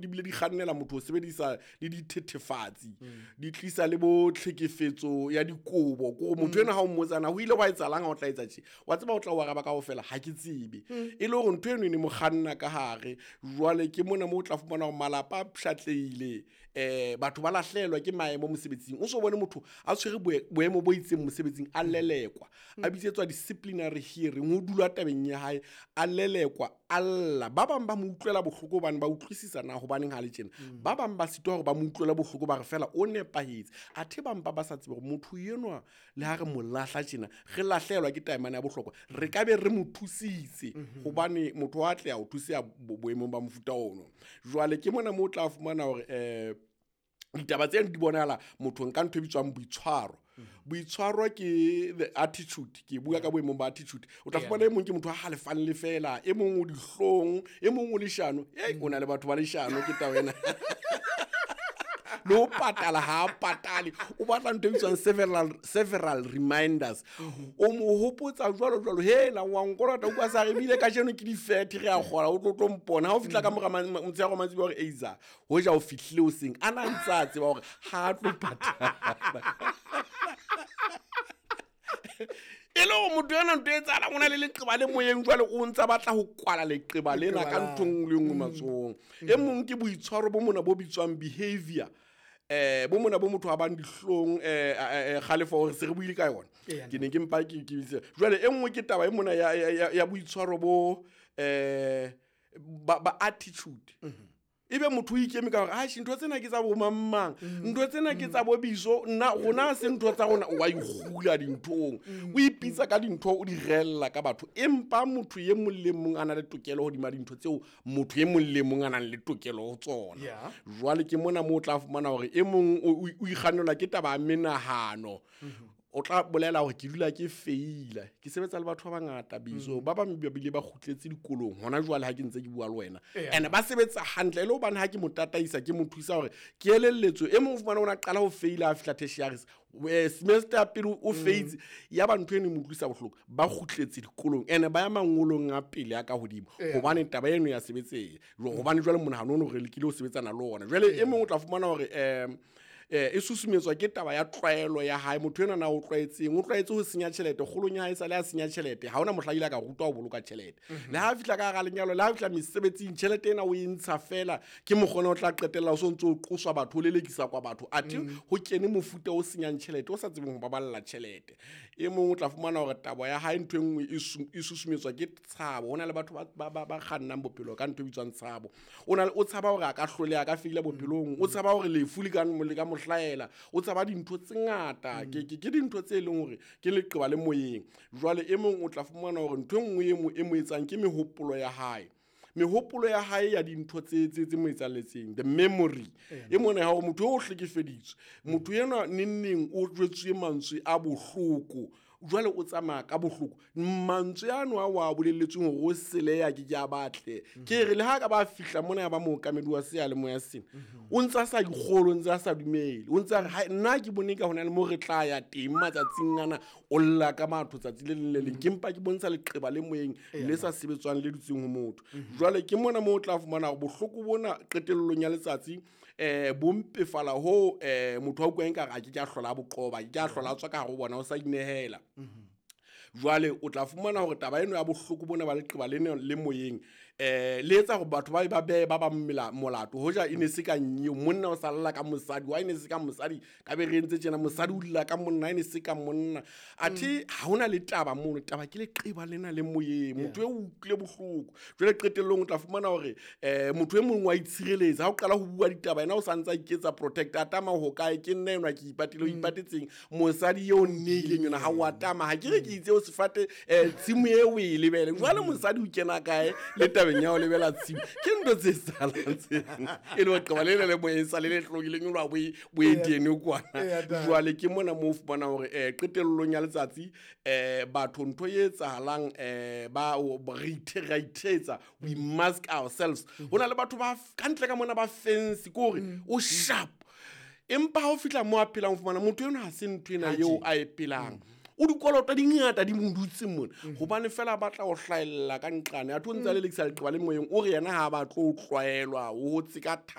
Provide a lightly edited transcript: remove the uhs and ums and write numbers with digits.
Di bile di kgannela motho ho sebedisa le dithethefatsi, di tlisa le bo tlhekefetso ya dikobo. Ko gore motho ena ha o mmotsana ho ile wa etsahalang ha o tla etsa tje, wa tseba o tla o araba kaofela, ha ke tsebe. E le hore ntho eno e ne mo kganna ka hare. Jwale ke mona moo o tla fumana hore malapa a pshatlehile, batho ba lahlehelwa ke maemo mosebetsing. O so bone motho a tshwere boemo bo itseng mosebetsing, a lelekwa, a bitsetswa disciplinary hearing, ho dula tabeng ya hae, a lelekwa, a lla. Ba bang ba mo utlwela bohloko hobane ba utlwisisa na hobaneng ha le tjena. Ba bang ba sitwa hore ba mo utlwele bohloko, ba re fela o nepahetse. Athe ba mpa ba sa tsebe hore motho enwa le ha re mo lahla tjena, re lahlehelwa ke taemane ya bohlokwa, re ka be re mo thusitse, hobane motho wa atleha ho thuseha boemong ba mofuta ono. Jwale ke mona moo o tla fumana hore ditaba tseno di bonahala mothong ka ntho e bitswang boitshwaro. Boitshwaro ke the attitude, ke bua ka boemong ba attitude. O tla fumana e mong ke motho a halefang le fela, e mong o dihlong, e mong o leshano. Ei, o na le batho ba leshano, ke taba ena. Le ho patala ha a patale, o batla ntho e bitswang several reminders. O mo hopotsa jwalo jwalo, hela wa nkolota, o kwa sa re ebile kajeno ke di-30, re a kgola, o tlo tlo mpona. Ha o fihla ka mora motshehare wa mantsiboya hore eiza, hoja o fihlile hoseng, a na ntse a tseba hore ha a tlo patala. E le hore motho ena ntho e etsahalang, o na le leqeba le moyeng, jwale o ntsa batla ho kwala leqeba lena ka ntho e nngwe le nngwe matsohong. E mong ke boitshwaro bo mona bo bitswang behavior. Bo mona bo motho a bang dihlong, kgalefo hore se re buile ka yona. Ke ne ke mpa ke bitse. Jwale e nngwe ke taba e mona ya boitshwaro bo, ba attitude. Ebe motho o ikeme ka hore, atjhe, ntho tsena ke tsa bo mang mang, ntho tsena ke tsa bo biso, nna rona ha se ntho tsa rona. Wa ikgula dinthong, o ipitsa ka dintho, o di rella ka batho. Empa motho e mong le mong a na le tokelo hodima dintho tseo motho e mong le mong a nang le tokelo ho tsona. Jwale ke mona moo o tla fumana hore e mong o ikgannelwa ke taba ya menahano. O tla bolela hore ke dula ke feila, ke sebetsa le batho ba bangata biso, ba bang ba bile ba kgutletse dikolong hona jwale ha ke ntse ke bua le wena. And ba sebetsa hantle, e le hobane ha ke mo tataisa, ke mo thusa hore ke elelletswe. E mong o fumana o na qala ho feila a fihla tertiary, semester ya pele o feitse, ya ba ntho eno e mo utlwisa bohloko, ba kgutletse dikolong and ba ya mangolong a pele a ka hodimo, hobane taba eno ya sebetseha. Hobane jwale monahano ono re lekile ho sebetsana le ona. Jwale e mong o tla fumana hore, e susumetswa ke taba ya tlwaelo ya hae. Motho enwa na o tlwaetseng, o tlwaetse ho senya tjhelete, kgolong ya hae sale a senya tjhelete, ha hona mohla ile a ka rutwa ho boloka tjhelete. Le ha fihla ka hara lenyalo, le ha fihla mesebetsing, tjhelete ena o e ntsha fela, ke mokgona o tla qetella o so ntso o qoswa batho, o lelekisa kwa batho. Athe ho kene mofuta o senyang tjhelete, o sa tsebeng ho baballa tjhelete. E mong o tla fumana hore taba ya hae ntho e nngwe e susumetswa ke tshabo. Ho na le batho ba kgannang bophelo ka ntho e bitswang tshabo. O na le, o tshaba hore a ka hloleha, a ka feila bophelong, o tshaba hore lefu le ka le ka mo hlahela, o tshaba dintho tse ngata. Ke dintho tse leng hore ke leqeba le moyeng. Jwale e mong o tla fumana hore ntho e nngwe e mo etsang ke mehopolo ya hae. Mehopolo ya hae ya dintho tse mo etsahalletseng, the memory. E mona ya hore motho o hlekefeditswe, motho enwa neng neng o jwetsuwe mantswe a bohloko, jwale o tsamaya ka bohloko. Mantswe ano a wa bolelletsweng hore o seleya ke ke a batle. Ke re le ha ka ba fihla mona ya ba mookamedi wa seyalemoya sena, o ntse a sa dikgolo, o ntse a sa dumele, o ntse a re, hai, nna ke bone ka hona le mo re tla ya teng matsatsing ana, o lla ka matho tsatsi le leng le leng. Ke mpa ke bontsha leqeba le moyeng le sa sebetswang le dutseng ho motho. Jwale ke mona moo o tla fumana hore bohloko bona qetellong ya letsatsi, bo mpefala hoo, motho a utlwang ekare a ke ke a hlola a bo qoba, a ke ke a hlola a tswa ka hare ho bona, o sa inehela. Jwale o tla fumana hore taba eno ya bohloko bona ba leqeba lena le moyeng, le etsa hore batho ba ba behe ba bang molato. Hoja e ne se ka nyeo, monna o sa lla ka mosadi, wa e ne se ka mosadi, ka be re entse tjena, mosadi o lla ka monna, e ne se ka monna. Athe ha hona le taba mono, taba ke leqeba lena le moyeng, motho eo o utlwile bohloko. Jwale qetellong o tla fumana hore, motho e mong wa itshireletsa, ha o qala ho bua ditaba, yena o sa ntse a iketsa protect, a tama ho kae, ke nna enwa ke ipatile, o ipatetseng, mosadi eo nneileng yona, ha o a tama, ha ke re ke itse o sefate, tshimo eo o e lebele. Jwale mosadi o kena kae le tabeng ya ho lebela tshimo? Ke ntho tse salang tse. E le hore qeba le le moyeng sa le le hlokileng, e le hore bo e tene kwana. Jwale ke mona moo o fumana hore, qetellong ya letsatsi, batho ntho e etsahalang, ba o, ba re ithe, ra ithetsa, we mask ourselves. Ho na le batho ba ka ntle ka mona ba fancy, ke hore o sharp. Empa ha o fihla moo a phelang, o fumana motho enwa ha se ntho ena eo a e phelang. O dikoloto di ngata di mo dutse mona, gobane fela a batla go hlaelela ka nqane. A tho ntse a lelekisa leqeba le moyeng, o re yena ga a batle o tlwaelwa, o hotse ka.